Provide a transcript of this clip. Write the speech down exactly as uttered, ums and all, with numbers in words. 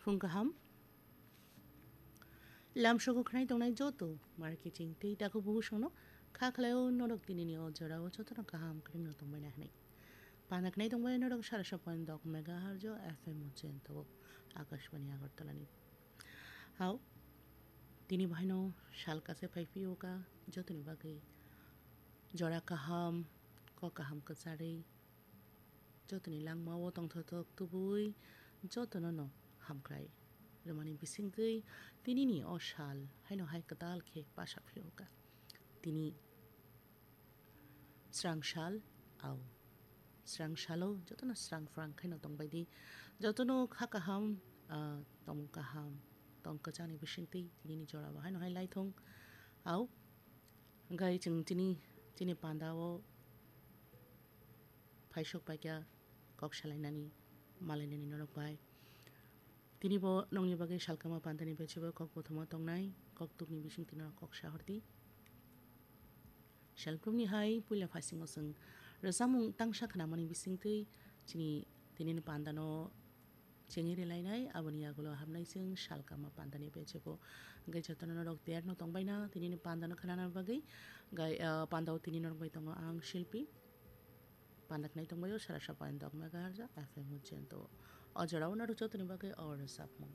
Phung kaham. Lamsogo khnai tongnai joto marketing tei takhuk bubusono kha khlaio norok tinini o jorao jotono kaham kwrwngno tongbaina hwnwi. Pana khnai tongbai norok sara saphan dok megahertz o F M o chento Akashbani Agartala ni. Hao, tini bahaino sal kase phai phio ka jotoni bagwi jora kaham, kok kaham kwcharwi, jotoni langmao tongthotok tubui jotono no hamkrai rwmani bisingtwi tinini o sal haino hai kwtal khe basa phio ka. Tini srang sal, au. Srang salo jotono srang phrang khaino tongbai di. Jotono kha kaham, ah, tong kaham, tong kwchangni bisingtwi tinini jorao haino hai lai thung. Au, hwnkhe chwng tini, chini pandao phaisok paikha kok salainani, malainani norok bai. Tini bo nokni bagwi salkama pandani bechebo kok bothoma tongnai, kok tukni bisingtwi norok kok sahordi. Self group ni hai puila phasingo chwng rwchapmung tangsa khnamani bisingtwi chini tinini pandano chengwi rwlainai, aboni yagulo habnai chwng salkama pandani bechebo. Hwnkhe jotono norok tiyar no tongbaina tinini pandano khnana bagwi. Gai, ah, pandao tini norok bai tongo ang Shilpi. Panda khnai tongbaio sara saphan dok megahertz F M o chento. O jorao norok jotoni bagwi o rwchapmung.